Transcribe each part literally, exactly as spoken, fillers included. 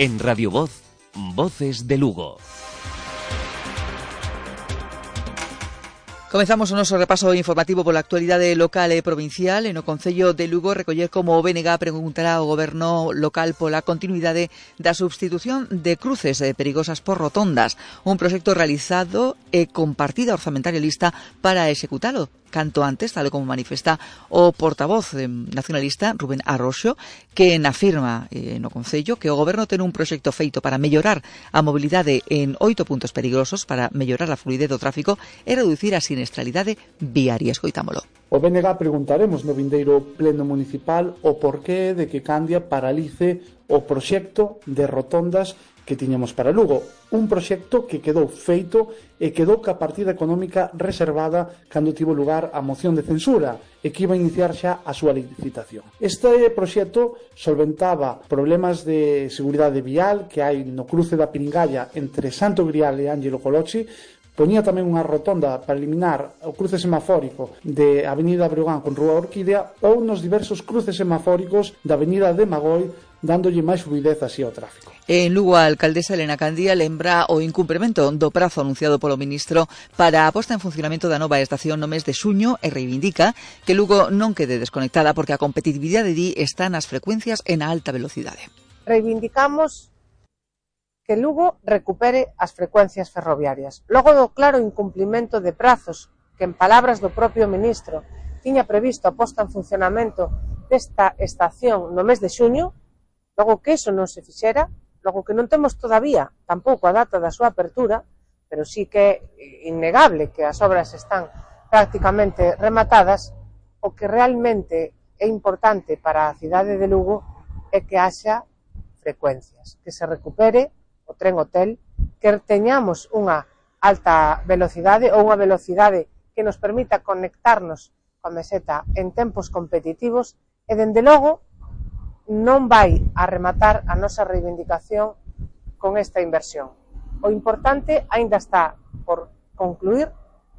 En Radio Voz, Voces de Lugo. Comezamos o noso repaso informativo pola actualidade local e provincial. En o Concello de Lugo recoller como o B N G preguntará ao goberno local pola continuidade da substitución de cruces perigosas por rotondas, un proxecto realizado e con partida orzamentaria lista para executalo canto antes, tal como manifesta o portavoz nacionalista Rubén Arroxo, que afirma eh, no Concello que o goberno ten un proxecto feito para mellorar a mobilidade en oito puntos peligrosos, para mellorar a fluidez do tráfico e reducir a sinestralidade viaria. Escoitámolo. O B N G preguntaremos no vindeiro pleno municipal o porqué de que Candia paralice o proxecto de rotondas que tiñamos para Lugo, un proxecto que quedou feito e quedou ca partida económica reservada cando tivo lugar a moción de censura e que iba a iniciar xa a súa licitación. Este proxecto solventaba problemas de seguridade vial que hai no cruce da Piringalla entre Santo Grial e Ángelo Colochi. Poñía tamén unha rotonda para eliminar o cruce semafórico de Avenida Breogán con Rúa Orquídea ou nos diversos cruces semafóricos da Avenida de Magoi, dándolle máis fluidez así ao tráfico. En Lugo, a alcaldesa Elena Candía lembra o incumprimento do prazo anunciado polo ministro para a posta en funcionamento da nova estación no mes de xuño e reivindica que Lugo non quede desconectada porque a competitividade di está nas frecuencias e na alta velocidade. Reivindicamos que Lugo recupere as frecuencias ferroviarias. Logo do claro incumplimento de prazos que, en palabras do propio ministro, tiña previsto a posta en funcionamento desta estación no mes de xuño, logo que iso non se fixera, logo que non temos todavía tampouco a data da súa apertura, pero sí que é innegable que as obras están prácticamente rematadas, o que realmente é importante para a cidade de Lugo é que haxa frecuencias, que se recupere o tren hotel, que teñamos unha alta velocidade ou unha velocidade que nos permita conectarnos coa meseta en tempos competitivos e, dende logo, non vai a rematar a nosa reivindicación con esta inversión. O importante aínda está por concluir.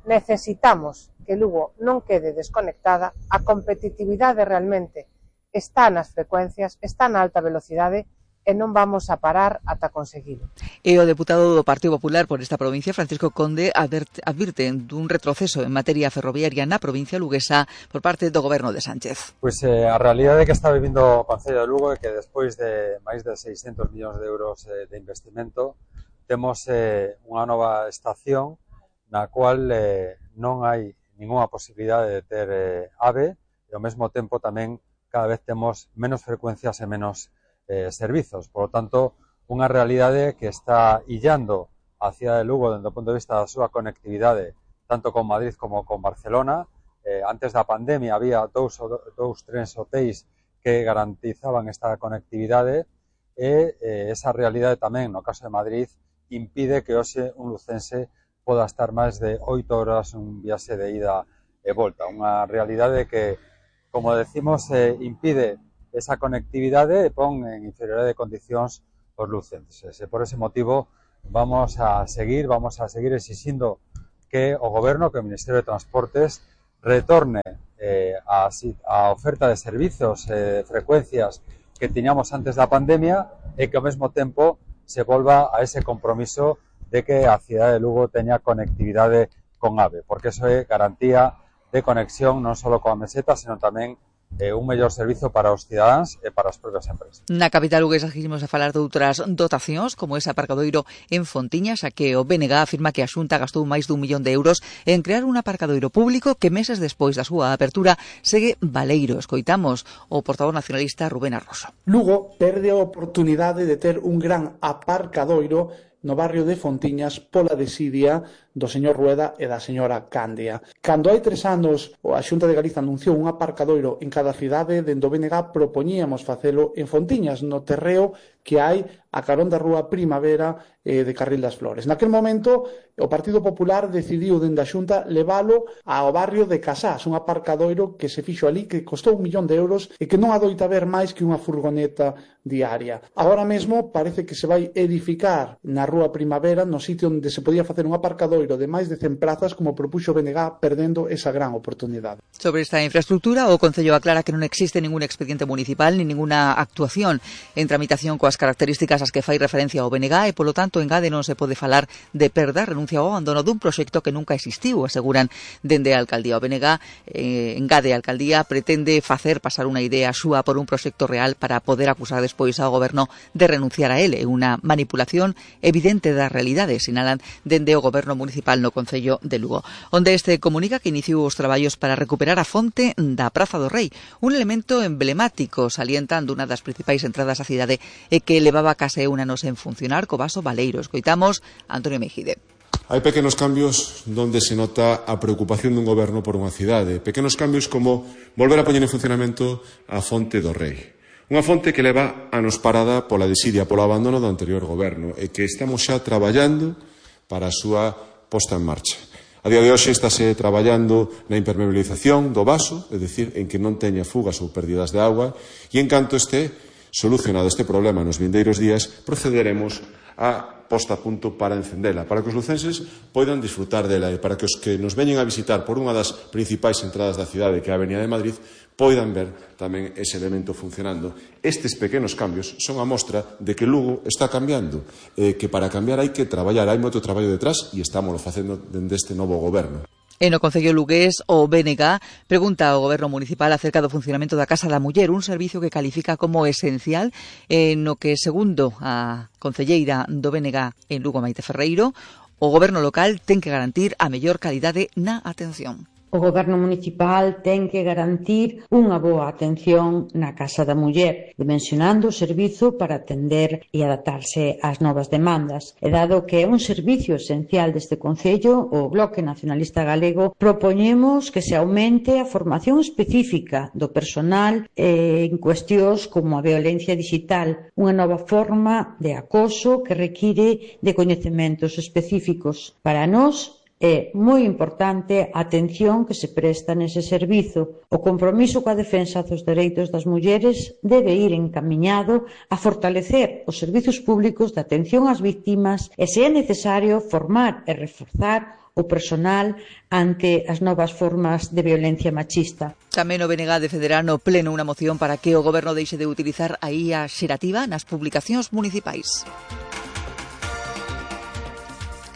Necesitamos que Lugo non quede desconectada, a competitividade realmente está nas frecuencias, está na alta velocidade, e non vamos a parar ata conseguilo. E o deputado do Partido Popular por esta provincia, Francisco Conde, advirte dun retroceso en materia ferroviaria na provincia luguesa por parte do goberno de Sánchez. Pois eh, a realidade que está vivindo o Concello de Lugo é que despois de máis de seiscentos millóns de euros eh, de investimento temos eh, unha nova estación na cual eh, non hai ninguna posibilidade de ter eh, AVE e ao mesmo tempo tamén cada vez temos menos frecuencias e menos Eh, servizos. Por lo tanto, unha realidade que está illando a cidade de Lugo desde o punto de vista da súa conectividade, tanto con Madrid como con Barcelona. Eh, antes da pandemia había dous, dous trens hotéis que garantizaban esta conectividade e eh, esa realidade tamén, no caso de Madrid, impide que hoxe un lucense poda estar máis de oito horas un viaxe de ida e volta. Unha realidade que, como decimos, eh, impide esa conectividade e pon en inferioridade de condicións os lucenses. E por ese motivo vamos a seguir, vamos a seguir exixindo que o Goberno, que o Ministerio de Transportes retorne eh, a, a oferta de servizos e eh, frecuencias que tiñamos antes da pandemia e que ao mesmo tempo se volva a ese compromiso de que a cidade de Lugo teña conectividade con AVE, porque eso é garantía de conexión non só coa meseta, senón tamén Eh, un mellor servizo para os cidadáns e para as propias empresas. Na capital luguesa seguimos a falar de outras dotacións, como ese aparcadoiro en Fontiñas, a que o B N G afirma que a Xunta gastou máis dun millón de euros en crear un aparcadoiro público que meses despois da súa apertura segue baleiro. Escoitamos o portavoz nacionalista Rubén Arroxo. Lugo perde a oportunidade de ter un gran aparcadoiro no barrio de Fontiñas pola desidia do señor Rueda e da señora Candia. Cando hai tres anos a Xunta de Galiza anunciou un aparcadoiro en cada cidade, dende o B N G propoñíamos facelo en Fontiñas, no terreo que hai a carón da Rúa Primavera eh, de Carril das Flores. Naquel momento, o Partido Popular decidiu dende a Xunta levalo ao barrio de Casás, un aparcadoiro que se fixo ali, que costou un millón de euros e que non adoita ver máis que unha furgoneta diaria. Agora mesmo parece que se vai edificar na Rúa Primavera, no sitio onde se podía facer un aparcadoiro de máis de cen prazas, como propuxo o B N G, perdendo esa gran oportunidade. Sobre esta infraestructura, o Concello aclara que non existe ningún expediente municipal ni ninguna actuación en tramitación coas características as que fai referencia ao B N G e, polo tanto, en Gade non se pode falar de perda, renuncia ao abandono dun proxecto que nunca existiu, aseguran dende a Alcaldía. O B N G, eh, en Gade a Alcaldía, pretende facer pasar unha idea súa por un proxecto real para poder acusar despois ao Goberno de renunciar a ele. É unha manipulación evidente da realidade, sinalan dende o Goberno municipal no Concello de Lugo, onde este comunica que iniciou os traballos para recuperar a fonte da Praza do Rei, un elemento emblemático, salientando unha das principais entradas á cidade e que levaba case un ano sen funcionar co vaso baleiro. Escoitamos a Antonio Mejide. Hai pequenos cambios donde se nota a preocupación dun goberno por unha cidade. Pequenos cambios como volver a poñer en funcionamento a fonte do Rei. Unha fonte que leva anos parada pola desidia, polo abandono do anterior goberno e que estamos xa traballando para a súa posta en marcha. A día de hoxe estáse traballando na impermeabilización do vaso, é dicir, en que non teña fugas ou pérdidas de auga, e en canto este solucionado este problema nos vindeiros días, procederemos a posta a punto para encendela, para que os lucenses poidan disfrutar dela e para que os que nos veñen a visitar por unha das principais entradas da cidade, que é a Avenida de Madrid, poidan ver tamén ese elemento funcionando. Estes pequenos cambios son a mostra de que Lugo está cambiando, eh, que para cambiar hai que traballar, hai moito traballo detrás e estámoslo facendo dende este novo goberno. E no Concello lugués, o B N G pregunta ao Goberno municipal acerca do funcionamento da Casa da Muller, un servicio que califica como esencial, eh, no que, segundo a concelleira do B N G en Lugo, Maite Ferreiro, o Goberno local ten que garantir a mellor calidade na atención. O Goberno municipal ten que garantir unha boa atención na Casa da Muller, dimensionando o servizo para atender e adaptarse ás novas demandas. E dado que é un servicio esencial deste Concello, o Bloque Nacionalista Galego propoñemos que se aumente a formación específica do personal eh, en cuestións como a violencia digital, unha nova forma de acoso que require de coñecementos específicos. Para nós, é moi importante a atención que se presta nese servizo. O compromiso coa defensa dos dereitos das mulleres debe ir encamiñado a fortalecer os servizos públicos de atención ás vítimas e, se é necesario, formar e reforzar o personal ante as novas formas de violencia machista. Tamén o B N G defenderá no pleno unha moción para que o Goberno deixe de utilizar a I A xerativa nas publicacións municipais.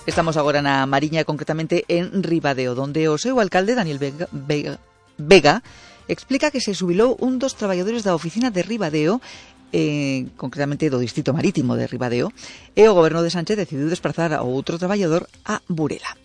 Estamos agora na Mariña, concretamente en Ribadeo, donde o seu alcalde, Daniel Vega, Vega, Vega explica que se xubilou un dos traballadores da oficina de Ribadeo, eh, concretamente do Distrito Marítimo de Ribadeo, e o Goberno de Sánchez decidiu desplazar a outro traballador a Burela.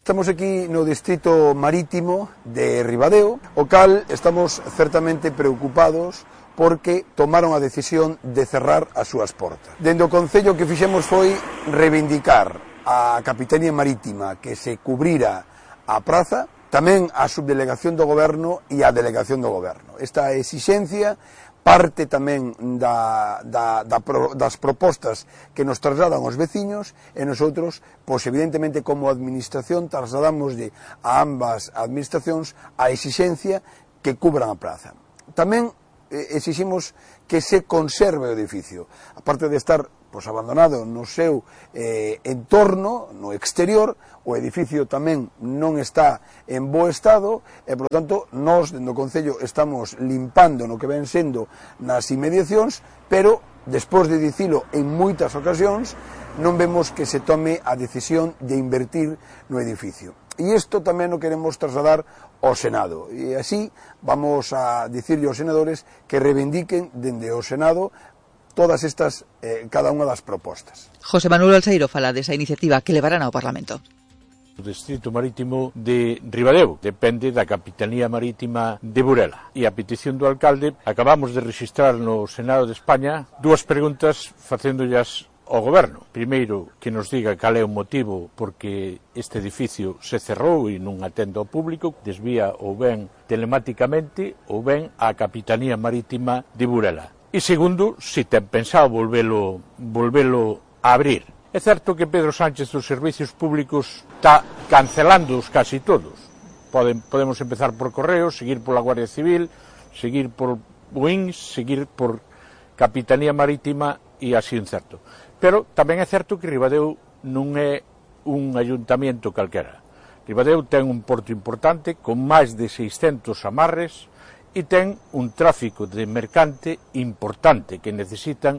Estamos aquí no Distrito Marítimo de Ribadeo, o cal estamos certamente preocupados porque tomaron a decisión de cerrar as súas portas. Dende o Concello que fixemos foi reivindicar a Capitanía Marítima que se cubrira a praza, tamén a subdelegación do Goberno e a delegación do Goberno. Esta exixencia parte tamén da, da, da, das propostas que nos trasladan os veciños e nosotros, pois evidentemente como administración, trasladamos de a ambas administracións a exixencia que cubran a praza. Tamén exiximos que se conserve o edificio, aparte de estar pois, abandonado no seu eh, entorno, no exterior, o edificio tamén non está en bo estado e, por lo tanto, nós, dentro do Concello, estamos limpando no que ven sendo nas inmediacións, pero, despois de dicilo en moitas ocasións, non vemos que se tome a decisión de invertir no edificio. E isto tamén o queremos trasladar ao Senado. E así vamos a dicirlle aos senadores que reivindiquen dende o Senado todas estas, eh, cada unha das propostas. José Manuel Alseiro fala desa iniciativa que levarán ao Parlamento. O Distrito Marítimo de Ribadeo depende da Capitanía Marítima de Burela. E a petición do alcalde, acabamos de registrar no Senado de España dúas preguntas facéndollas ao Goberno. Primeiro, que nos diga cal é o motivo porque este edificio se cerrou e non atende ao público, desvía ou ben telemáticamente ou ben á Capitanía Marítima de Burela. E segundo, se ten pensado volvelo, volvelo a abrir. É certo que Pedro Sánchez dos servicios públicos está cancelándoos casi todos. Poden, podemos empezar por Correos, seguir pola Guardia Civil, seguir por U I N S, seguir por Capitanía Marítima e así un certo. Pero tamén é certo que Ribadeo non é un ayuntamento calquera. Ribadeo ten un porto importante con máis de seiscentos amarres e ten un tráfico de mercante importante que necesitan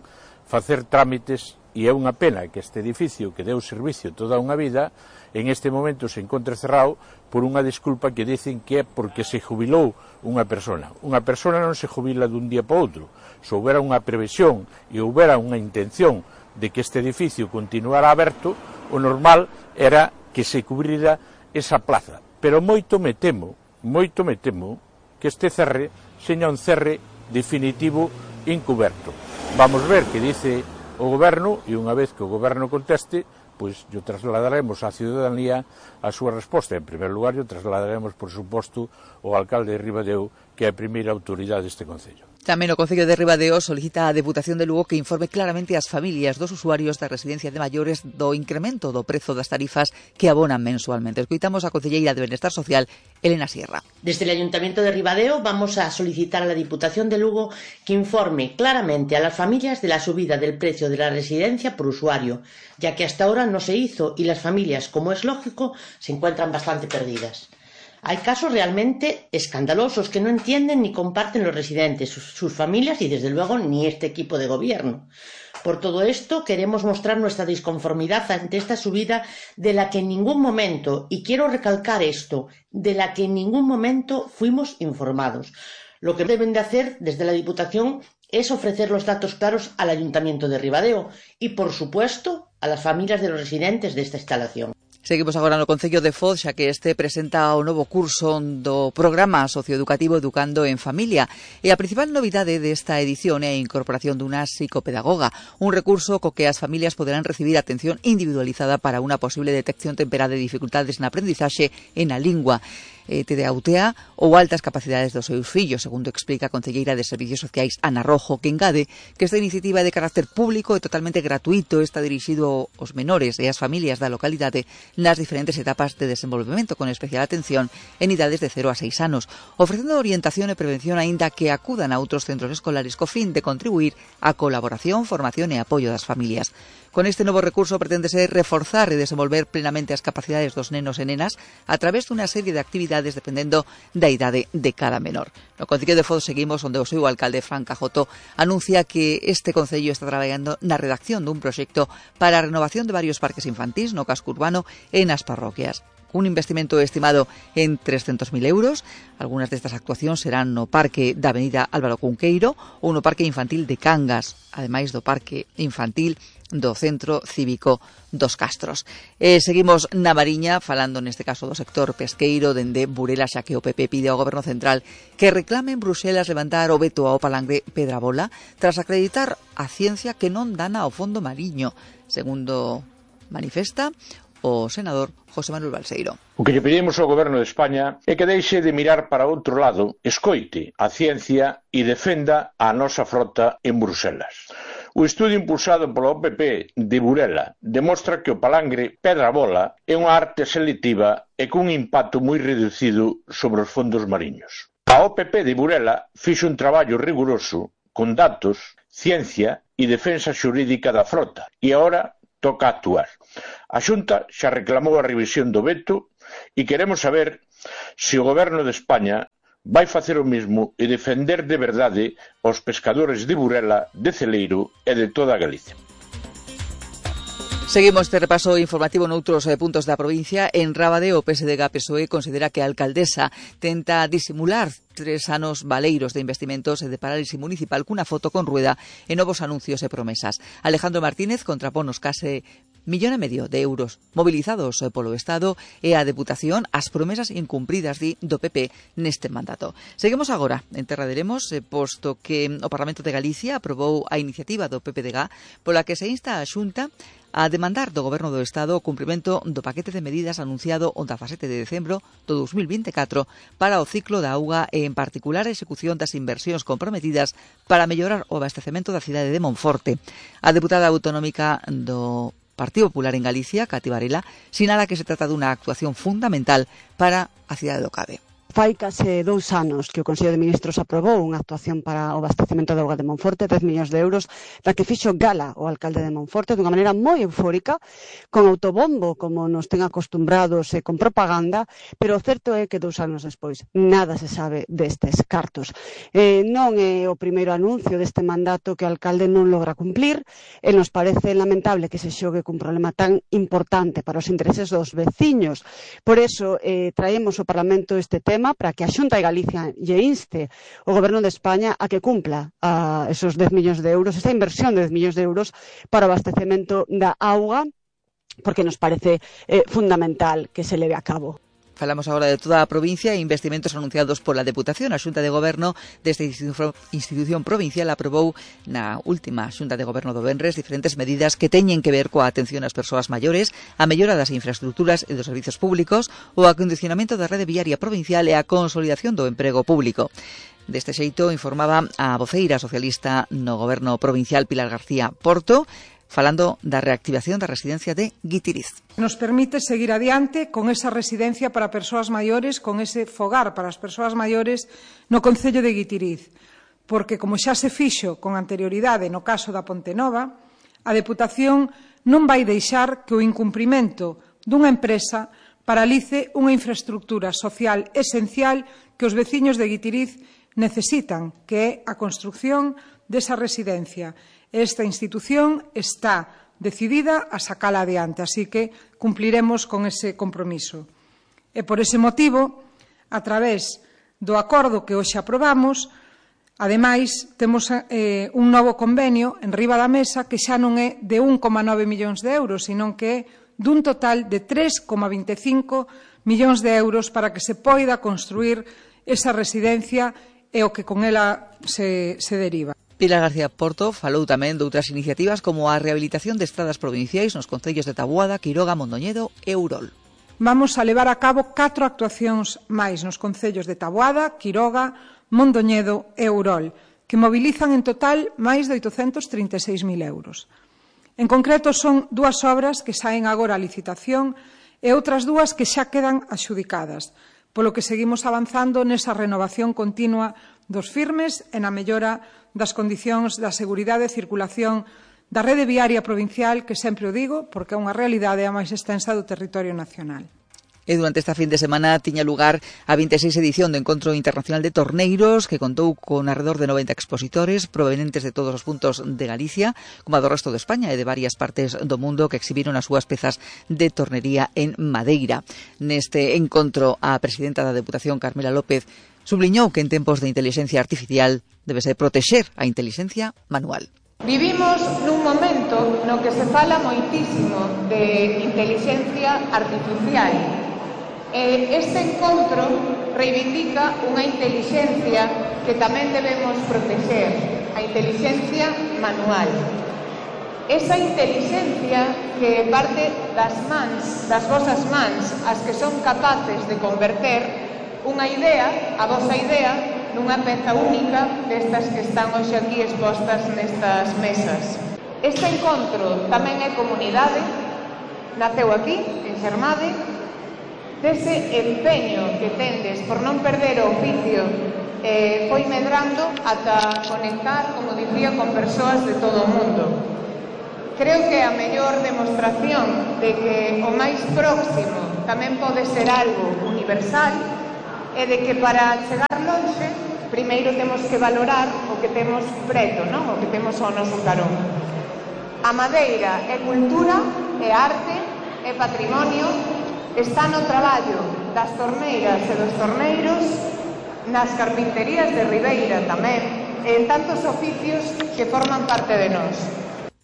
facer trámites, e é unha pena que este edificio que deu servicio toda unha vida en este momento se encontre cerrado por unha desculpa que dicen que é porque se jubilou unha persona. Unha persona non se jubila dun día para outro. Se houbera unha previsión e houbera unha intención de que este edificio continuara aberto, o normal era que se cubrira esa plaza. Pero moito me temo, moito me temo que este cerre seña un cerre definitivo encuberto. Vamos ver que dice o Goberno, e unha vez que o Goberno conteste, pois yo trasladaremos á ciudadanía a súa resposta. En primer lugar, yo trasladaremos, por suposto, ao alcalde de Ribadeo, que é a primeira autoridade deste concello. Tamén o Concello de Ribadeo solicita a Deputación de Lugo que informe claramente ás familias dos usuarios da residencia de maiores do incremento do prezo das tarifas que abonan mensualmente. Escoitamos a concelleira de Benestar Social, Elena Sierra. Desde el Ayuntamiento de Ribadeo vamos a solicitar a la Diputación de Lugo que informe claramente a las familias de la subida del precio de la residencia por usuario, ya que hasta ahora no se hizo y las familias, como es lógico, se encuentran bastante perdidas. Hay casos realmente escandalosos que no entienden ni comparten los residentes, sus, sus familias y, desde luego, ni este equipo de gobierno. Por todo esto, queremos mostrar nuestra disconformidad ante esta subida de la que en ningún momento, y quiero recalcar esto, de la que en ningún momento fuimos informados. Lo que deben de hacer desde la Diputación es ofrecer los datos claros al Ayuntamiento de Ribadeo y, por supuesto, a las familias de los residentes de esta instalación. Seguimos agora no Concello de Foz, xa que este presenta o novo curso do programa socioeducativo Educando en Familia. E a principal novidade desta edición é a incorporación dunha psicopedagoga, un recurso co que as familias poderán recibir atención individualizada para unha posible detección temperá de dificultades na aprendizaxe e na lingua. T D A U T A ou altas capacidades dos seus fillos, segundo explica a concelleira de Servicios Sociais Ana Rojo, que engade que esta iniciativa de carácter público e totalmente gratuito está dirixido aos menores e ás familias da localidade nas diferentes etapas de desenvolvemento, con especial atención en idades de cero a seis anos, ofrecendo orientación e prevención aínda que acudan a outros centros escolares co fin de contribuir á colaboración, formación e apoio das familias. Con este novo recurso preténdese reforzar e desenvolver plenamente as capacidades dos nenos e nenas a través dunha serie de actividades dependendo da idade de cada menor. No Concello de Foz seguimos onde o seu alcalde, Fran Cajoto, anuncia que este concello está traballando na redacción dun proxecto para a renovación de varios parques infantís no casco urbano e nas parroquias. Un investimento estimado en trescentos mil euros. Algunas destas actuacións serán no Parque da Avenida Álvaro Cunqueiro ou no Parque Infantil de Cangas, ademais do Parque Infantil do Centro Cívico dos Castros. E seguimos na Mariña, falando neste caso do sector pesqueiro dende Burela, xa que o P P pide ao Goberno Central que reclame en Bruselas levantar o veto ao palangre Pedrabola tras acreditar a ciencia que non dana ao fondo mariño, segundo manifesta o senador José Manuel Balseiro. O que lle pedimos ao Goberno de España é que deixe de mirar para outro lado, escoite a ciencia e defenda a nosa frota en Bruselas. O estudo impulsado pola O P P de Burela demostra que o palangre Pedrabola é unha arte selectiva e cun impacto moi reducido sobre os fondos mariños. A O P P de Burela fixo un traballo riguroso con datos, ciencia e defensa xurídica da frota e agora toca actuar. A Xunta xa reclamou a revisión do veto e queremos saber se o Goberno de España vai facer o mesmo e defender de verdade aos pescadores de Burela, de Celeiro e de toda Galicia. Seguimos este repaso informativo noutros puntos da provincia. En Rábade, o P S D G P S O E considera que a alcaldesa tenta disimular tres anos valeiros de investimentos e de parálise municipal cunha foto con rueda e novos anuncios e promesas. Alejandro Martínez contrapón os case millón e medio de euros mobilizados polo Estado e a Deputación as promesas incumpridas di do P P neste mandato. Seguimos agora en Terra de Lemos, posto que o Parlamento de Galicia aprobou a iniciativa do P P D G pola que se insta a Xunta a demandar do Goberno do Estado o cumprimento do paquete de medidas anunciado o dezasete de decembro do dos mil vinte e catro para o ciclo da auga e, en particular, a execución das inversións comprometidas para mellorar o abastecemento da cidade de Monforte. A deputada autonómica do Partido Popular en Galicia, Cati Varela, sinala que se trata dunha actuación fundamental para a cidade do Cade. Fai case dous anos que o Consello de Ministros aprobou unha actuación para o abastecemento de auga de Monforte, dez millóns de euros, da que fixo gala o alcalde de Monforte dunha maneira moi eufórica, con autobombo, como nos ten acostumbrados, e con propaganda, pero o certo é que dous anos despois nada se sabe destes cartos. Eh, non é o primeiro anuncio deste mandato que o alcalde non logra cumplir, e nos parece lamentable que se xogue cun problema tan importante para os intereses dos veciños. Por eso, eh, traemos ao Parlamento este tema para que a Xunta de Galicia lle inste o Goberno de España a que cumpla a esos dez millóns de euros, esa inversión de dez millóns de euros para o abastecemento da auga, porque nos parece eh, fundamental que se leve a cabo. Falamos agora de toda a provincia e investimentos anunciados pola Deputación. A Xunta de Goberno desta institución provincial aprobou na última Xunta de Goberno do venres diferentes medidas que teñen que ver coa atención ás persoas maiores, a mellora das infraestructuras e dos servizos públicos, o acondicionamento da rede viaria provincial e a consolidación do emprego público. Deste xeito informaba a voceira socialista no Goberno provincial Pilar García Porto, falando da reactivación da residencia de Guitiriz. Nos permite seguir adiante con esa residencia para persoas maiores, con ese fogar para as persoas maiores no concello de Guitiriz, porque, como xa se fixo con anterioridade no caso da Ponte Nova, a Deputación non vai deixar que o incumprimento dunha empresa paralice unha infraestructura social esencial que os veciños de Guitiriz necesitan, que é a construción desa residencia. Esta institución está decidida a sacala adiante, así que cumpliremos con ese compromiso. E por ese motivo, a través do acordo que hoxe aprobamos, ademais, temos eh, un novo convenio en riba da mesa que xa non é de un coma nove millóns de euros, senón que é dun total de tres coma vinte e cinco millóns de euros para que se poida construir esa residencia e o que con ela se, se deriva. Pilar García Porto falou tamén de outras iniciativas como a rehabilitación de estradas provinciais nos concellos de Taboada, Quiroga, Mondoñedo e Ourol. Vamos a levar a cabo catro actuacións máis nos concellos de Taboada, Quiroga, Mondoñedo e Ourol, que mobilizan en total máis de oitocentos trinta e seis mil euros. En concreto, son dúas obras que saen agora a licitación e outras dúas que xa quedan adxudicadas, polo que seguimos avanzando nesa renovación continua dos firmes e na mellora das condicións da seguridade e circulación da rede viaria provincial, que sempre o digo, porque é unha realidade a máis extensa do territorio nacional. E durante esta fin de semana tiña lugar a vinte e seis edición do Encontro Internacional de Torneiros, que contou con alrededor de noventa expositores provenientes de todos os puntos de Galicia, como a do resto de España e de varias partes do mundo, que exhibiron as súas pezas de tornería en madeira. Neste encontro, a presidenta da Deputación, Carmela López, subliñou que en tempos de inteligencia artificial debese protexer a inteligencia manual. Vivimos nun momento no que se fala moitísimo de inteligencia artificial. E este encontro reivindica unha inteligencia que tamén debemos proteger, a inteligencia manual. Esa inteligencia que parte das mans, das vosas mans, as que son capaces de converter unha idea, a vosa idea, nunha peza única destas que están hoxe aquí expostas nestas mesas. Este encontro tamén é comunidade, naceu aquí, en Xermade, dese empeño que tendes por non perder o oficio, eh, foi medrando ata conectar, como dicía, con persoas de todo o mundo. Creo que a mellor demostración de que o máis próximo tamén pode ser algo universal e de que para chegar longe primeiro temos que valorar o que temos preto, non? O que temos ao noso carón. A madeira é cultura, é arte, é patrimonio, está no traballo das torneiras e dos torneiros, nas carpinterías de Ribeira tamén, e en tantos oficios que forman parte de nós.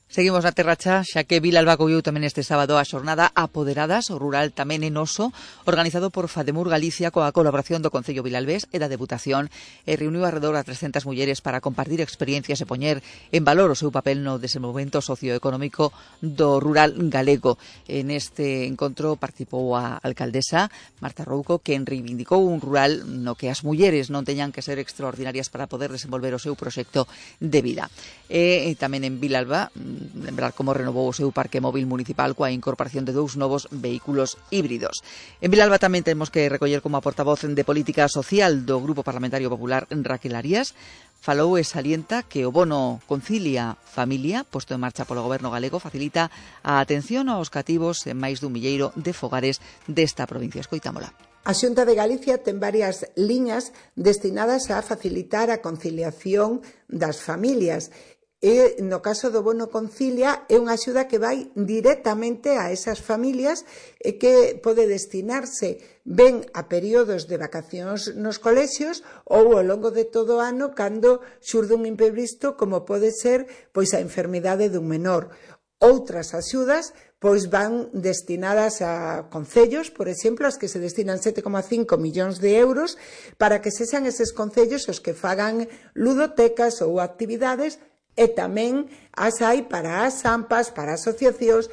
Seguimos na Terra Cha, xa que Vilalba colleu tamén este sábado a xornada Apoderadas, o rural tamén en Oso, organizado por Fademur Galicia coa colaboración do Concello Vilalbés e da Deputación, e reuniu alrededor a trescentas mulleres para compartir experiencias e poñer en valor o seu papel no desenvolvemento socioeconómico do rural galego. En este encontro participou a alcaldesa Marta Rouco, quen reivindicou un rural no que as mulleres non teñan que ser extraordinarias para poder desenvolver o seu proxecto de vida. E tamén en Vilalba lembrar como renovou o seu parque móvil municipal coa incorporación de dous novos vehículos híbridos. En Vilalba tamén temos que recoller como a portavoz de Política Social do Grupo Parlamentario Popular, Raquel Arias, falou e salienta que o bono Concilia Familia, posto en marcha polo Goberno galego, facilita a atención aos cativos en máis dun milleiro de fogares desta provincia. Escoitámola. A Xunta de Galicia ten varias liñas destinadas a facilitar a conciliación das familias. E, no caso do bono Concilia, é unha axuda que vai directamente a esas familias e que pode destinarse ben a períodos de vacacións nos colexios ou ao longo de todo o ano cando xurde un imprevisto como pode ser pois a enfermidade dun menor. Outras axudas pois van destinadas a concellos, por exemplo, as que se destinan sete coma cinco millóns de euros para que sexan eses concellos os que fagan ludotecas ou actividades, e tamén as hai para as AMPAs, para asociacións.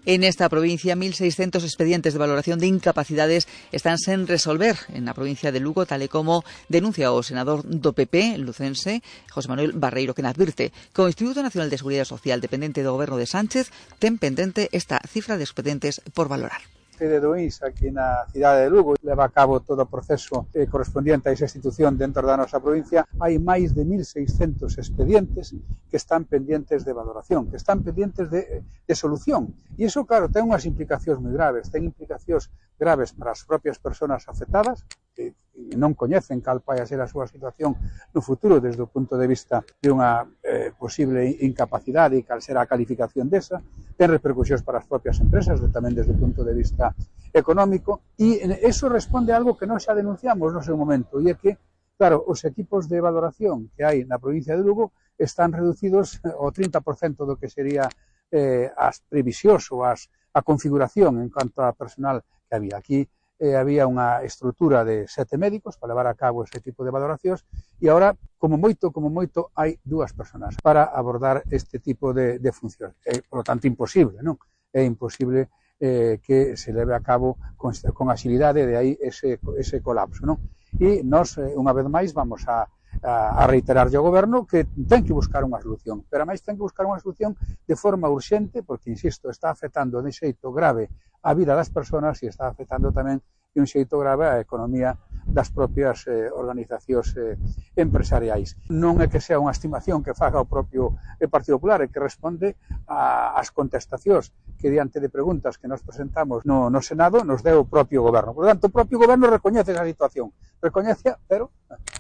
En esta provincia, mil seiscentos expedientes de valoración de incapacidades están sen resolver en la provincia de Lugo, tal e como denuncia o senador do P P lucense, José Manuel Barreiro, que advirte que o Instituto Nacional de Seguridade Social, dependente do goberno de Sánchez, ten pendente esta cifra de expedientes por valorar. Sede do I N S aquí na cidade de Lugo leva a cabo todo o proceso eh, correspondiente a esa institución dentro da nosa provincia. Hai máis de mil seiscentos expedientes que están pendientes de valoración, que están pendientes de, de solución. E iso, claro, ten unhas implicacións moi graves. Ten implicacións graves para as propias persoas afectadas, que non coñecen cal vai a ser a súa situación no futuro desde o punto de vista de unha eh, posible incapacidade e cal será a calificación desa. Ten repercusións para as propias empresas, de, tamén desde o punto de vista económico, e eso responde a algo que nós xa denunciamos no seu momento, e é que, claro, os equipos de valoración que hai na provincia de Lugo están reducidos ao trinta por cento do que sería eh, as previsións ou as, a configuración en cuanto a personal que había. Aquí eh, había unha estrutura de sete médicos para levar a cabo ese tipo de valoracións e agora, como moito, como moito, hai dúas personas para abordar este tipo de, de funcións. É, por lo tanto, imposible, non? É imposible eh, que se leve a cabo con, con agilidade, de aí ese, ese colapso, non? E nós, eh, unha vez máis, vamos a a reiterarlle ao goberno que ten que buscar unha solución, pero máis ten que buscar unha solución de forma urxente, porque, insisto, está afectando de xeito grave a vida das persoas e está afectando tamén de un xeito grave a economía das propias eh, organizacións eh, empresariais. Non é que sea unha estimación que faga o propio eh, Partido Popular, é que responde ás contestacións que diante de preguntas que nos presentamos no, no Senado nos deu o propio goberno. Por tanto, o propio goberno recoñece esa situación, recoñece, pero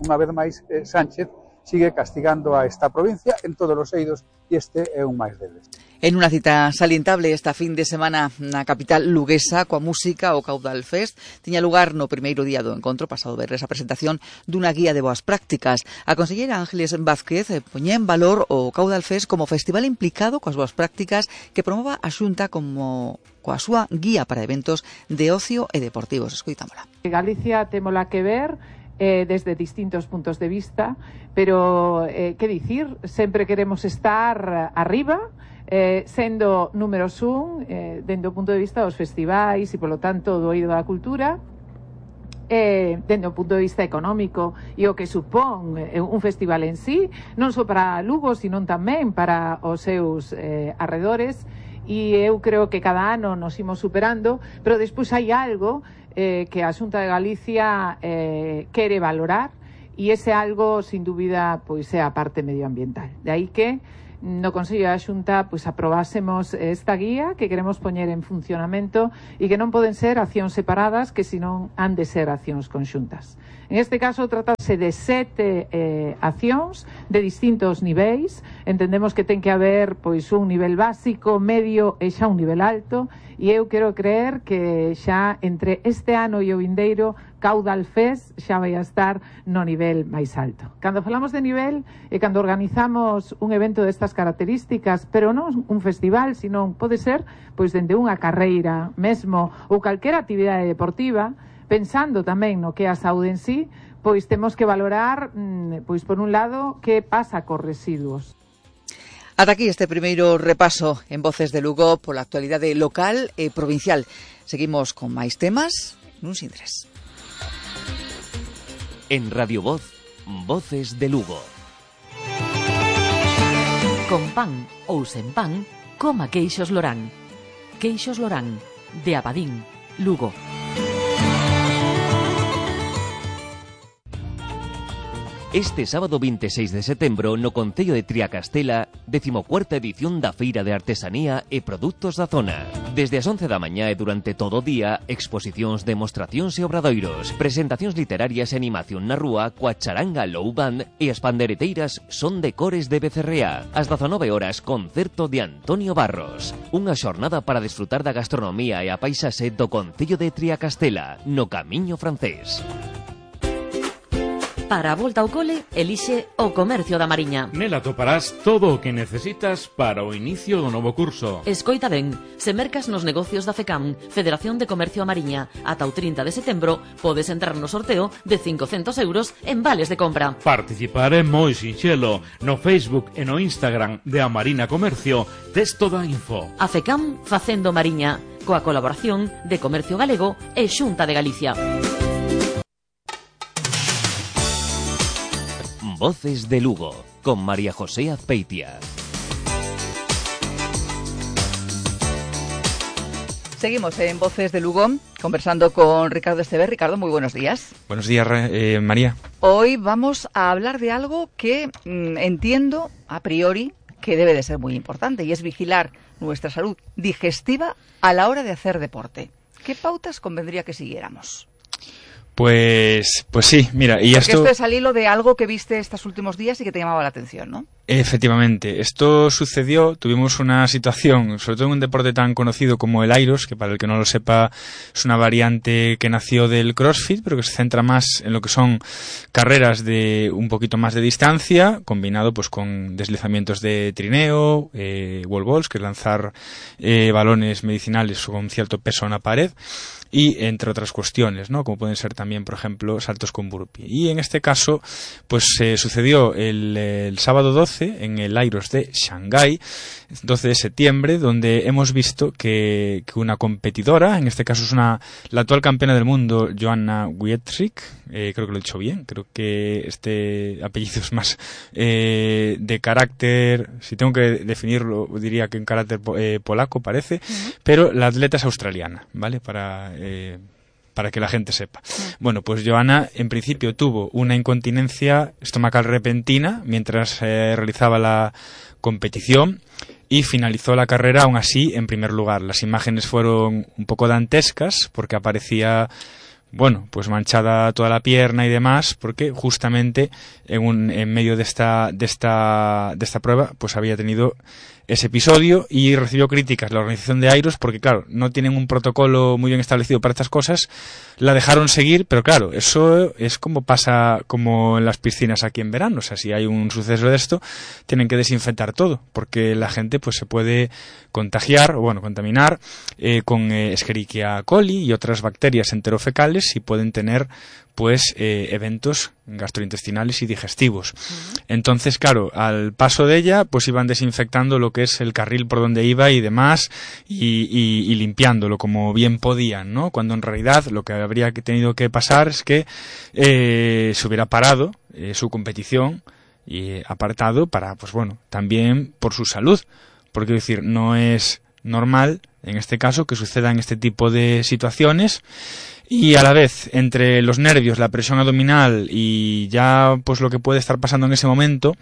unha vez máis eh, Sánchez sigue castigando a esta provincia en todos os eidos e este é un máis deles. En unha cita salientable esta fin de semana na capital luguesa coa música o Caudal Fest tiña lugar no primeiro día do encontro pasado verres a presentación dunha guía de boas prácticas. A conselleira Ángeles Vázquez poñía en valor o Caudal Fest como festival implicado coas boas prácticas que promova a Xunta como coa súa guía para eventos de ocio e deportivos. Escoitámola. Galicia témola que ver Eh, desde distintos puntos de vista, pero eh, que dicir, sempre queremos estar arriba, eh, sendo números un, eh, dende o punto de vista dos festivais e, polo tanto, do eido da cultura, eh, dende o punto de vista económico e o que supón eh, un festival en sí, non só para Lugo, sino tamén para os seus eh, arredores, e eu creo que cada ano nos imos superando, pero despois hai algo Eh, que a Xunta de Galicia eh, quere valorar e ese algo, sin dúbida, pois é a parte medioambiental. De aí que no Consello da Xunta pois aprobásemos esta guía que queremos poñer en funcionamento e que non poden ser accións separadas, que senón han de ser accións conxuntas. En este caso tratase de sete eh, accións de distintos niveis. Entendemos que ten que haber pois un nivel básico, medio e xa un nivel alto, e eu quero creer que xa entre este ano e o vindeiro Caudal Fest xa vai a estar no nivel máis alto. Cando falamos de nivel e cando organizamos un evento destas características, pero non un festival, sino pode ser pois dende unha carreira mesmo ou calquera actividade deportiva, pensando tamén no que é a saúde en sí, pois temos que valorar, pois por un lado, que pasa cos residuos. Ata aquí este primeiro repaso en Voces de Lugo pola actualidade local e provincial. Seguimos con máis temas nun Sindres. En Radio Voz, Voces de Lugo. Con pan ou sen pan, coma queixos Lorán. Queixos Lorán, de Abadín, Lugo. Este sábado veintiséis de setembro no Concello de Triacastela, decimocuarta edición da Feira de Artesanía e Produtos da Zona. Desde as once da mañá e durante todo o día, exposicións, demostracións e obradoiros, presentacións literarias e animación na rúa coa charanga Low Band e as pandereteiras Son de Cores de Becerrea. Ás dezanove horas, concerto de Antonio Barros. Unha xornada para desfrutar da gastronomía e a paisaxe do Concello de Triacastela, no Camiño Francés. Para a volta ao cole, elixe o Comercio da Mariña. Nela toparás todo o que necesitas para o inicio do novo curso. Escoita ben, se mercas nos negocios da FECAM, Federación de Comercio a Mariña, ata o trinta de setembro, podes entrar no sorteo de cincocentos euros en vales de compra. Participar é moi sinxelo. No Facebook e no Instagram de A Marina Comercio, tes toda a info. A FECAM facendo Mariña, coa colaboración de Comercio Galego e Xunta de Galicia. Voces de Lugo, con María José Azpeitia. Seguimos en Voces de Lugo, conversando con Ricardo Esteber. Ricardo, muy buenos días. Buenos días, eh, María. Hoy vamos a hablar de algo que mmm, entiendo, a priori, que debe de ser muy importante, y es vigilar nuestra salud digestiva a la hora de hacer deporte. ¿Qué pautas convendría que siguiéramos? Pues, pues sí, mira, y Porque esto... esto es al hilo de algo que viste estos últimos días y que te llamaba la atención, ¿no? Efectivamente, esto sucedió, tuvimos una situación, sobre todo en un deporte tan conocido como el Airos, que para el que no lo sepa es una variante que nació del CrossFit, pero que se centra más en lo que son carreras de un poquito más de distancia, combinado pues con deslizamientos de trineo, eh, wall balls, que es lanzar eh, balones medicinales con cierto peso a una pared, y entre otras cuestiones, ¿no? Como pueden ser también, por ejemplo, saltos con burpee. Y en este caso, pues eh, sucedió el, el sábado doce en el Airos de Shanghái, doce de septiembre, donde hemos visto que, que una competidora, en este caso es una la actual campeona del mundo, Joanna Wietrzyk, eh, creo que lo he dicho bien, creo que este apellido es más eh, de carácter, si tengo que definirlo, diría que en carácter eh, polaco parece, uh-huh. Pero la atleta es australiana, ¿vale? Para... Eh, para que la gente sepa. Bueno, pues Joanna en principio tuvo una incontinencia estomacal repentina mientras eh, realizaba la competición y finalizó la carrera aún así en primer lugar. Las imágenes fueron un poco dantescas porque aparecía, bueno, pues manchada toda la pierna y demás, porque justamente en un en medio de esta de esta de esta prueba pues había tenido ese episodio y recibió críticas la organización de Airos porque, claro, no tienen un protocolo muy bien establecido para estas cosas, la dejaron seguir, pero claro, eso es como pasa como en las piscinas aquí en verano, o sea, si hay un suceso de esto, tienen que desinfectar todo, porque la gente pues se puede contagiar, o bueno, contaminar eh, con eh, Escherichia coli y otras bacterias enterofecales y pueden tener pues eh, eventos gastrointestinales y digestivos. Uh-huh. Entonces, claro, al paso de ella, pues iban desinfectando lo que es el carril por donde iba y demás, y, y, y limpiándolo como bien podían, ¿no? Cuando en realidad lo que habría tenido que pasar es que eh, se hubiera parado eh, su competición y apartado para, pues bueno, también por su salud, porque quiero decir, no es normal, en este caso, que sucedan este tipo de situaciones. Y a la vez, entre los nervios, la presión abdominal y ya pues lo que puede estar pasando en ese momento,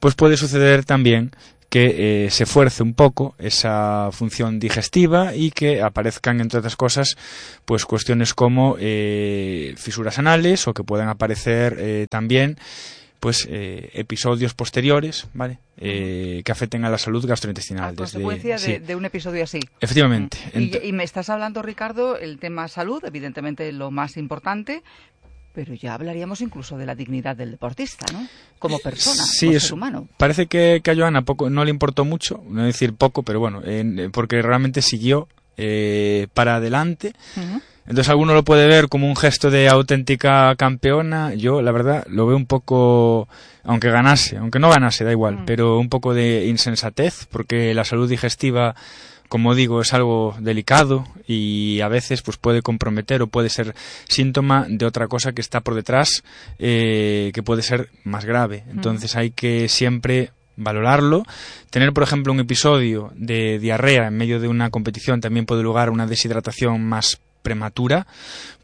pues puede suceder también que eh, se fuerce un poco esa función digestiva y que aparezcan, entre otras cosas, pues cuestiones como eh, fisuras anales o que puedan aparecer eh, también pues eh, episodios posteriores, ¿vale? Eh, que afecten a la salud gastrointestinal. A consecuencia desde, de, sí. de un episodio así. Efectivamente. Y, y me estás hablando, Ricardo, el tema salud, evidentemente lo más importante, pero ya hablaríamos incluso de la dignidad del deportista, ¿no? Como persona, sí, como es, ser humano. Parece que, que a Joanna poco, no le importó mucho, no decir poco, pero bueno, eh, porque realmente siguió eh, para adelante. Uh-huh. Entonces alguno lo puede ver como un gesto de auténtica campeona. Yo, la verdad, lo veo un poco, aunque ganase, aunque no ganase, da igual, mm. pero un poco de insensatez, porque la salud digestiva, como digo, es algo delicado y a veces pues puede comprometer o puede ser síntoma de otra cosa que está por detrás, eh, que puede ser más grave. Entonces mm. hay que siempre valorarlo. Tener, por ejemplo, un episodio de diarrea en medio de una competición también puede lugar a una deshidratación más prematura,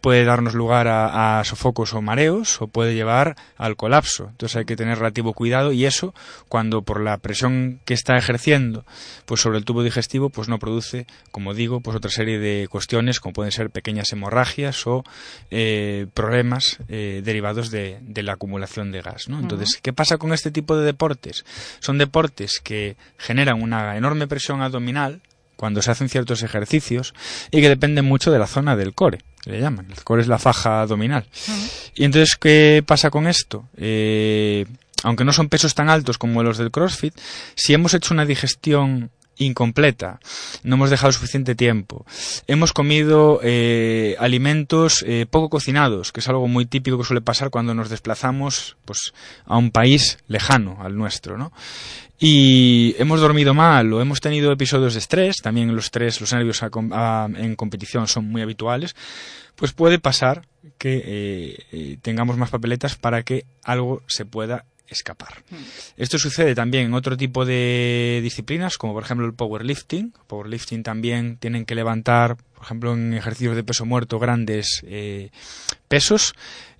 puede darnos lugar a, a sofocos o mareos, o puede llevar al colapso. Entonces hay que tener relativo cuidado, y eso, cuando por la presión que está ejerciendo pues sobre el tubo digestivo, pues no produce, como digo, pues otra serie de cuestiones, como pueden ser pequeñas hemorragias o eh, problemas eh, derivados de, de la acumulación de gas, ¿no? Entonces, ¿qué pasa con este tipo de deportes? Son deportes que generan una enorme presión abdominal cuando se hacen ciertos ejercicios, y que dependen mucho de la zona del core, que le llaman. El core es la faja abdominal. Uh-huh. Y entonces, ¿qué pasa con esto? Eh, aunque no son pesos tan altos como los del CrossFit, si hemos hecho una digestión incompleta, no hemos dejado suficiente tiempo, hemos comido eh, alimentos eh, poco cocinados, que es algo muy típico que suele pasar cuando nos desplazamos pues a un país lejano al nuestro, ¿no? Y hemos dormido mal o hemos tenido episodios de estrés, también los estrés, los nervios a, a, en competición son muy habituales, pues puede pasar que eh, eh, tengamos más papeletas para que algo se pueda escapar. Mm. Esto sucede también en otro tipo de disciplinas, como por ejemplo el powerlifting. Powerlifting también tienen que levantar, por ejemplo, en ejercicios de peso muerto, grandes eh, pesos,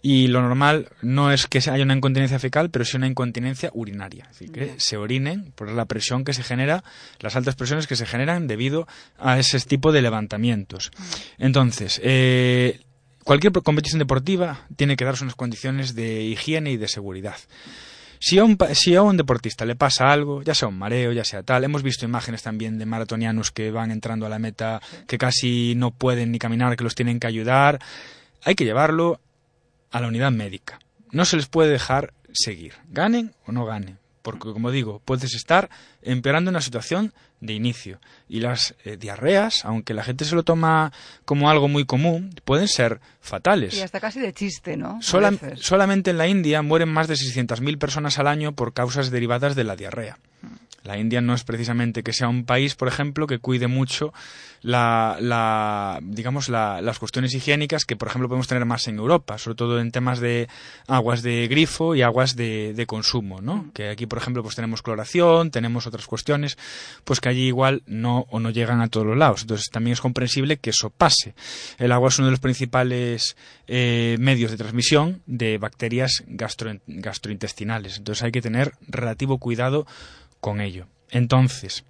y lo normal no es que haya una incontinencia fecal, pero sí una incontinencia urinaria, es decir, que yeah. se orinen por la presión que se genera, las altas presiones que se generan debido a ese tipo de levantamientos. Mm. Entonces, eh, cualquier competición deportiva tiene que darse unas condiciones de higiene y de seguridad. Si a, un, si a un deportista le pasa algo, ya sea un mareo, ya sea tal, hemos visto imágenes también de maratonianos que van entrando a la meta, que casi no pueden ni caminar, que los tienen que ayudar, hay que llevarlo a la unidad médica. No se les puede dejar seguir, ganen o no ganen, porque, como digo, puedes estar empeorando una situación de inicio. Y las eh, diarreas, aunque la gente se lo toma como algo muy común, pueden ser fatales. Y hasta casi de chiste, ¿no? Sola, solamente en la India mueren más de seiscientas mil personas al año por causas derivadas de la diarrea. La India no es precisamente que sea un país, por ejemplo, que cuide mucho la, la digamos la, las cuestiones higiénicas que, por ejemplo, podemos tener más en Europa, sobre todo en temas de aguas de grifo y aguas de, de consumo, ¿no? Mm. Que aquí, por ejemplo, pues tenemos cloración, tenemos otras cuestiones, pues que allí igual no o no llegan a todos los lados. Entonces también es comprensible que eso pase. El agua es uno de los principales eh, medios de transmisión de bacterias gastro, gastrointestinales. Entonces hay que tener relativo cuidado con ello. Entonces,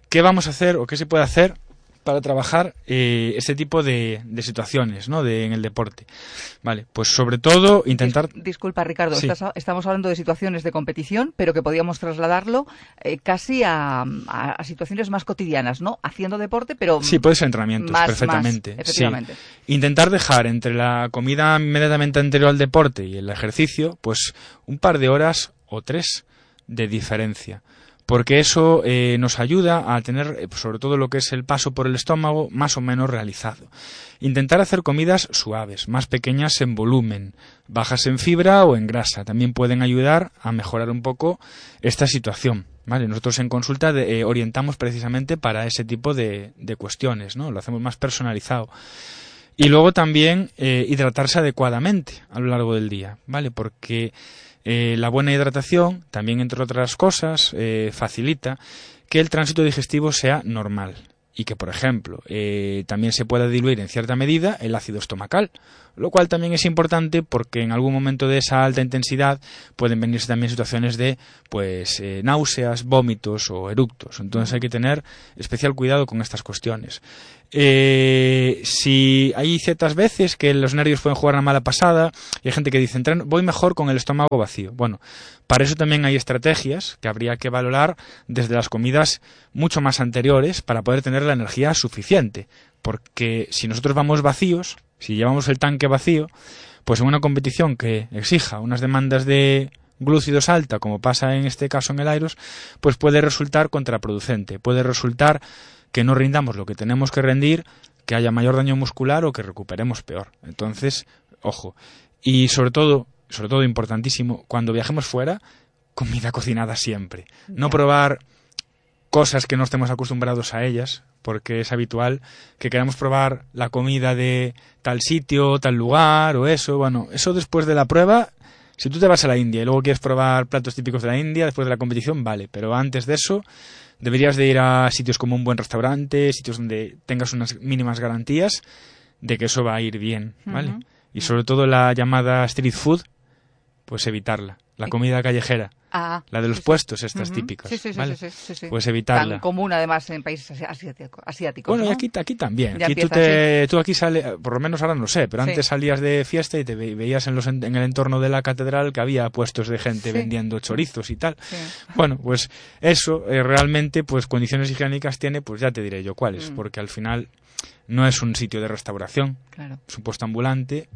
¿qué vamos a hacer o qué se puede hacer para trabajar eh, este tipo de, de situaciones, ¿no? de, en el deporte? Vale, pues sobre todo intentar... Dis, disculpa, Ricardo, sí. estás, estamos hablando de situaciones de competición, pero que podíamos trasladarlo eh, casi a, a, a situaciones más cotidianas, ¿no? Haciendo deporte, pero... Sí, puede ser entrenamientos, más, perfectamente. Más, efectivamente. Sí. Intentar dejar entre la comida inmediatamente anterior al deporte y el ejercicio, pues un par de horas o tres de diferencia. Porque eso eh, nos ayuda a tener, sobre todo lo que es el paso por el estómago, más o menos realizado. Intentar hacer comidas suaves, más pequeñas en volumen, bajas en fibra o en grasa. También pueden ayudar a mejorar un poco esta situación. ¿Vale? Nosotros en consulta de, eh, orientamos precisamente para ese tipo de, de cuestiones, ¿no? Lo hacemos más personalizado. Y luego también eh, hidratarse adecuadamente a lo largo del día, ¿vale? Porque... Eh, la buena hidratación, también entre otras cosas, eh, facilita que el tránsito digestivo sea normal y que, por ejemplo, eh, también se pueda diluir en cierta medida el ácido estomacal, lo cual también es importante porque en algún momento de esa alta intensidad pueden venirse también situaciones de pues eh, náuseas, vómitos o eructos. Entonces hay que tener especial cuidado con estas cuestiones. Eh, si hay ciertas veces que los nervios pueden jugar una mala pasada y hay gente que dice, voy mejor con el estómago vacío. Bueno, para eso también hay estrategias que habría que valorar desde las comidas mucho más anteriores para poder tener la energía suficiente, porque si nosotros vamos vacíos, si llevamos el tanque vacío, pues en una competición que exija unas demandas de glúcidos alta, como pasa en este caso en el Airos, pues puede resultar contraproducente, puede resultar que no rindamos lo que tenemos que rendir, que haya mayor daño muscular o que recuperemos peor. Entonces, ojo. Y sobre todo, sobre todo importantísimo, cuando viajemos fuera, comida cocinada siempre. No probar cosas que no estemos acostumbrados a ellas, porque es habitual que queramos probar la comida de tal sitio, tal lugar o eso. Bueno, eso después de la prueba Si tú te vas a la India y luego quieres probar platos típicos de la India después de la competición, vale, pero antes de eso deberías de ir a sitios como un buen restaurante, sitios donde tengas unas mínimas garantías de que eso va a ir bien, ¿vale? Uh-huh. Y sobre todo la llamada street food, pues evitarla. La comida callejera, ah, la de los sí, puestos sí. estas uh-huh. típicas, sí, sí, sí, ¿vale? sí, sí, sí, sí. Pues evitarla. Tan común además en países asiático, asiáticos, Bueno, ¿no? y aquí, aquí también. Ya Aquí tú, empieza, te, tú aquí sales, por lo menos ahora no sé, pero sí. antes salías de fiesta y te ve, veías en, los, en el entorno de la catedral que había puestos de gente sí. vendiendo chorizos y tal. Sí. Bueno, pues eso eh, realmente, pues condiciones higiénicas tiene, pues ya te diré yo cuáles, mm. porque al final no es un sitio de restauración, claro. es un puesto ambulante.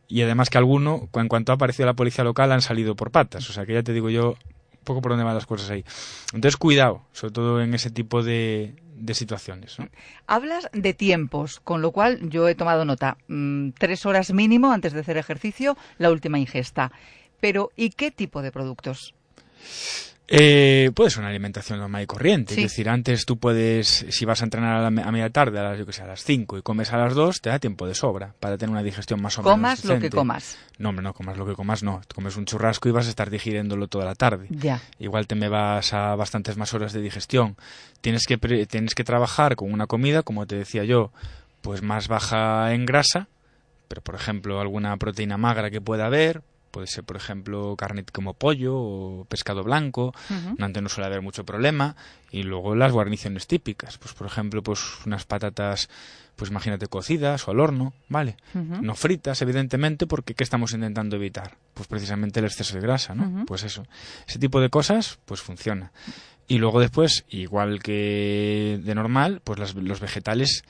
Y además que alguno, en cuanto ha aparecido la policía local, han salido por patas. O sea que ya te digo yo un poco por dónde van las cosas ahí. Entonces cuidado, sobre todo en ese tipo de, de situaciones, ¿no? Hablas de tiempos, con lo cual yo he tomado nota. Mm, tres horas mínimo antes de hacer ejercicio, la última ingesta. Pero, ¿y qué tipo de productos? Eh, puede ser una alimentación normal y corriente, sí. Es decir, antes tú puedes, si vas a entrenar a, la, a media tarde, a las, yo que sé, a las cinco y comes a las dos, te da tiempo de sobra para tener una digestión más o menos comas decente. Lo que comas. No, hombre, no comas lo que comas, no. Comes un churrasco y vas a estar digiriéndolo toda la tarde. Ya. Igual te me vas a bastantes más horas de digestión. Tienes que, pre, tienes que trabajar con una comida, como te decía yo, pues más baja en grasa, pero por ejemplo alguna proteína magra que pueda haber. Puede ser, por ejemplo, carne como pollo o pescado blanco. Uh-huh. Antes no suele haber mucho problema. Y luego las guarniciones típicas. Pues, por ejemplo, pues unas patatas, pues imagínate, cocidas o al horno, ¿vale? Uh-huh. No fritas, evidentemente, porque ¿qué estamos intentando evitar? Pues precisamente el exceso de grasa, ¿no? Uh-huh. Pues eso. Ese tipo de cosas, pues funciona. Y luego después, igual que de normal, pues las, los vegetales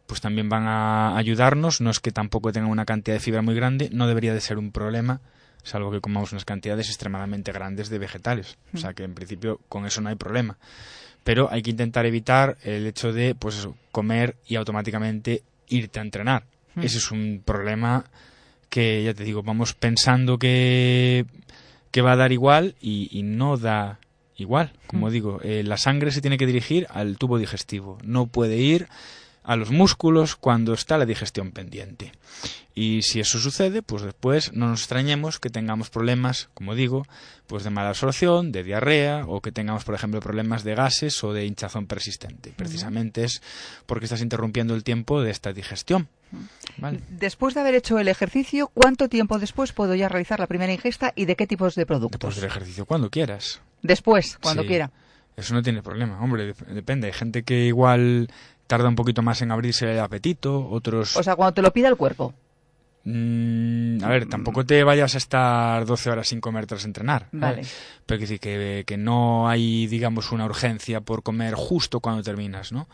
pues también van a ayudarnos. No es que tampoco tengan una cantidad de fibra muy grande. No debería de ser un problema, salvo que comamos unas cantidades extremadamente grandes de vegetales. O sea que en principio con eso no hay problema. Pero hay que intentar evitar el hecho de, pues eso, comer y automáticamente irte a entrenar. Mm. Ese es un problema que, ya te digo, vamos pensando que, que va a dar igual y, y no da igual. Como mm. digo, eh, la sangre se tiene que dirigir al tubo digestivo. No puede ir a los músculos cuando está la digestión pendiente. Y si eso sucede, pues después no nos extrañemos que tengamos problemas, como digo, pues de mala absorción, de diarrea, o que tengamos, por ejemplo, problemas de gases o de hinchazón persistente. Precisamente es porque estás interrumpiendo el tiempo de esta digestión. ¿Vale? Después de haber hecho el ejercicio, ¿cuánto tiempo después puedo ya realizar la primera ingesta y de qué tipos de productos? Después del ejercicio, cuando quieras. Después, cuando sí, quiera. Eso no tiene problema, hombre, depende. Hay gente que igual tarda un poquito más en abrirse el apetito, otros... O sea, cuando te lo pida el cuerpo. Mm, a ver, tampoco te vayas a estar doce horas sin comer tras entrenar. Vale. ¿eh? Pero que, que, que no hay, digamos, una urgencia por comer justo cuando terminas, ¿no?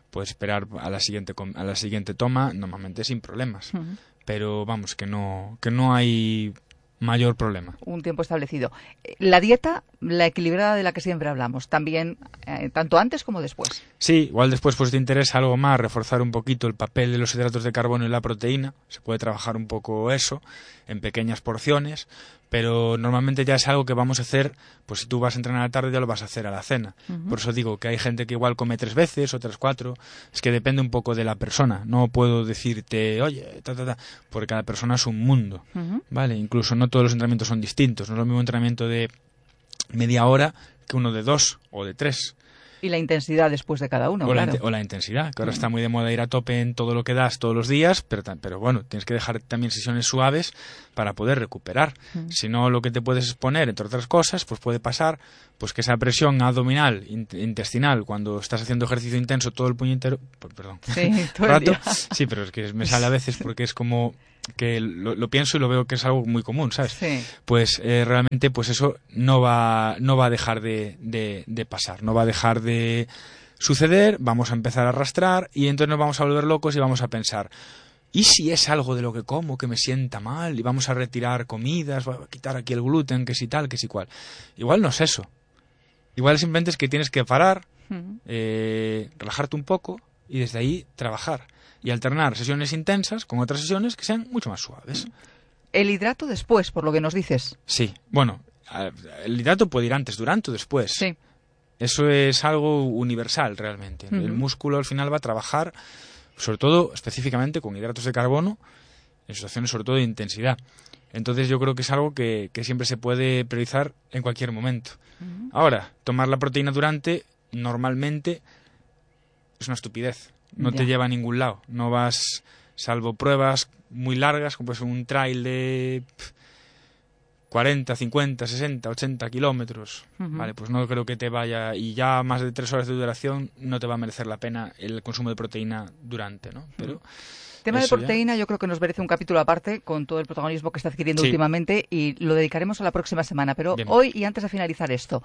Puedes esperar a la siguiente a la siguiente toma, normalmente sin problemas. Uh-huh. Pero vamos, que no, que no hay mayor problema. Un tiempo establecido. La dieta, la equilibrada de la que siempre hablamos, también, eh, tanto antes como después. Sí, igual después pues te interesa algo más, reforzar un poquito el papel de los hidratos de carbono y la proteína. Se puede trabajar un poco eso, en pequeñas porciones, pero normalmente ya es algo que vamos a hacer, pues si tú vas a entrenar a la tarde ya lo vas a hacer a la cena. Uh-huh. Por eso digo que hay gente que igual come tres veces, otras cuatro. Es que depende un poco de la persona. No puedo decirte, oye, ta, ta, ta, porque cada persona es un mundo. Uh-huh. ¿Vale? Incluso no todos los entrenamientos son distintos. No es lo mismo un entrenamiento de media hora que uno de dos o de tres. Y la intensidad después de cada uno, o claro. La, o la intensidad, que ahora mm. está muy de moda ir a tope en todo lo que das todos los días, pero, pero bueno, tienes que dejar también sesiones suaves para poder recuperar. Mm. Si no, lo que te puedes exponer, entre otras cosas, pues puede pasar pues que esa presión abdominal, in, intestinal, cuando estás haciendo ejercicio intenso todo el puñetero... Perdón. Sí, todo el rato, día. Sí, pero es que me sale a veces porque es como... que lo, lo pienso y lo veo que es algo muy común, ¿sabes? Sí. Pues eh, realmente pues eso no va no va a dejar de, de, de pasar, no va a dejar de suceder, vamos a empezar a arrastrar y entonces nos vamos a volver locos y vamos a pensar, ¿y si es algo de lo que como que me sienta mal? Y vamos a retirar comidas, a quitar aquí el gluten, que si tal, que si cual. Igual no es eso. Igual simplemente es que tienes que parar, uh-huh. eh, relajarte un poco y desde ahí trabajar. Y alternar sesiones intensas con otras sesiones que sean mucho más suaves. El hidrato después, por lo que nos dices. Sí, bueno, el hidrato puede ir antes, durante o después. Sí. Eso es algo universal realmente. Uh-huh. El músculo al final va a trabajar, sobre todo específicamente con hidratos de carbono, en situaciones sobre todo de intensidad. Entonces yo creo que es algo que, que siempre se puede priorizar en cualquier momento. Uh-huh. Ahora, tomar la proteína durante, normalmente, es una estupidez. No ya. te lleva a ningún lado. No vas, salvo pruebas muy largas, como pues un trail de cuarenta, cincuenta, sesenta, ochenta kilómetros. Uh-huh. Vale, pues no creo que te vaya, y ya más de tres horas de duración no te va a merecer la pena el consumo de proteína durante, ¿no? Pero... Uh-huh. tema de proteína ya. Yo creo que nos merece un capítulo aparte con todo el protagonismo que está adquiriendo sí. últimamente, y lo dedicaremos a la próxima semana. Pero Bien. hoy, y antes de finalizar esto,